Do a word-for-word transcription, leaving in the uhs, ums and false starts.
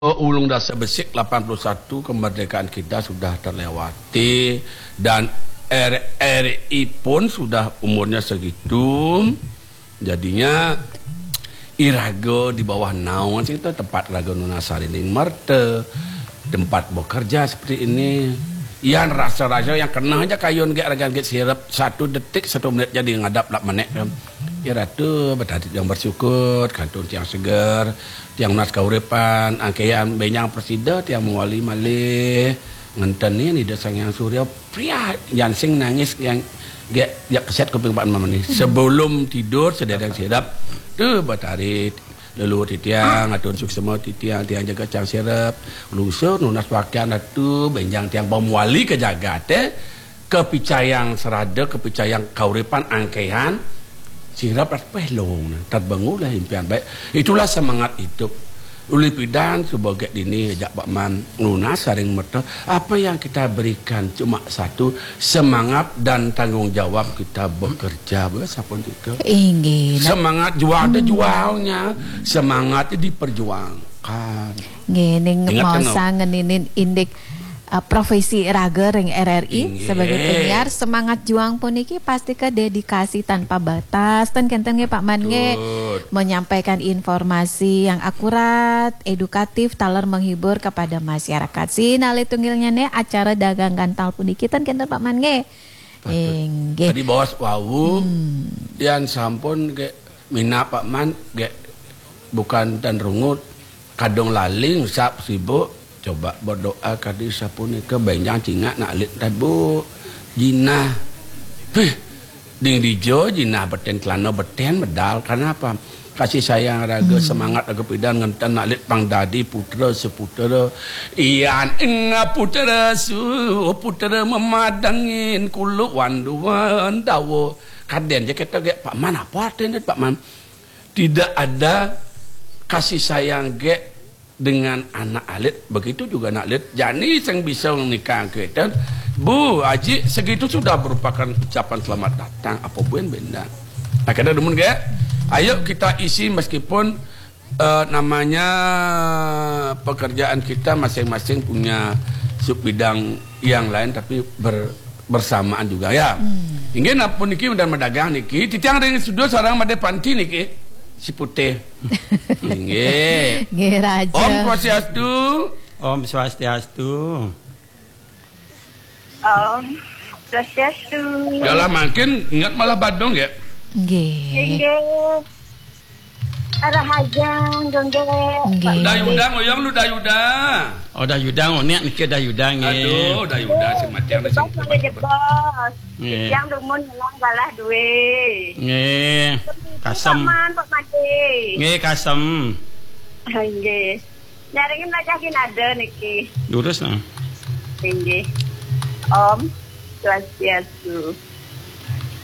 Ulung Dasa Besik, lapan puluh satu, kemerdekaan kita sudah terlewati dan R R I pun sudah umurnya segitu. Jadinya iraga di bawah naungan situ, tempat raga nunas sarining merta, tempat bekerja seperti ini. Yan rasa-rasa yang kena aja kayun gek ragan gek sirep satu detik, satu menit jadi ngadap lap menek tu. Ya Ratu, betadit yang bersyukur, kantun tiang seger, tiang nunas kauripan, angkean benjang presida, tiang mawali malih ngenten ni Ida Sang Hyang Surya, priah, yan sing nangis yang gek, gek keset kuping Pak Imam ni. Sebelum tidur, sedereng sirep, tu betari leluhur titiang, atun suksema titiang, tiang jaga cang sirep, lusur nunas pakian Ratu, benjang tiang pemwali ke jagat, eh. Kepicayang serada, kepicayang kauripan angkehan, sirep rat pelong, terbangunlah impian baik. Itulah semangat hidup. Ulih pidan suba gek dini ajak Pak Man nunas saring merta. Apa yang kita berikan cuma satu, semangat dan tanggungjawab kita bekerja, bes, sampun kita. Inggih, nah. Semangat jual ada jualnya, semangat diperjuangkan. Nggih, ning maosang ngeninin indik, uh, profesi raga ring R R I. Inggih. Sebagai penyiar, semangat juang puniki pastika dedikasi tanpa batas. Ten kenten nggih, Pak Man, nggih. Betul. Menyampaikan informasi yang akurat, edukatif, taler menghibur kepada masyarakat. Sinalih tunggilnya nih acara dagang gantal puniki, ten kenten, Pak Man, nggih. Patut. Inggih. Tadi baos wau, hmm, yan sampun gek minab Pak Man, gek bukan tan rungut, kadung laling sap sibuk, coba berdoa kadi sapunika, benjang cingak nak alit tabu, jinah. Hih, ding dija jinah beten kelana beten medal. Kenapa? Kasih sayang raga, hmm, semangat raga pidan ngenten nak alit pang dadi putra seputra. Yan ing putra su, putra memadangin kuluk wanduan dawa. Kaden je kita gek, Pak Man, apa artinya, Pak Man? Tidak ada kasih sayang gek dengan anak alit, begitu juga anak alit. Jani sing bisa nikah kita, Bu Haji, segitu sudah merupakan ucapan selamat datang. Apa buen benda? Nah, kita demen gek. Ayo kita isi meskipun, eh, namanya pekerjaan kita masing-masing punya sub bidang yang lain, tapi ber-, bersamaan juga ya. Hmm. Inggih, nampun niki udah medagang niki, titiang ring studio sareng Made Panti niki, si putih. Inggih. Nggih, Raja. Om Swastiastu. Om Swastiastu. Om Swastiastu. Yalah, makin ingat malah badung ya. Nggih. Nggih. Rahajeng, Gung Gek. Nggih. Dayudang, oyong lu dayudang. Oh, dayudang, oh, niat niki dayudang, nggih. Aduh, dayudang, si matiang, si jebos, malah jebos. Nggih. Yang dumun ngelang galah duwe. Nggih. Kasem. Paman, Pak Made. Nggih, kasem. Nggih. Nyaringin wajah kinada niki. Lurus, nah. Nggih. Om Swastiastu.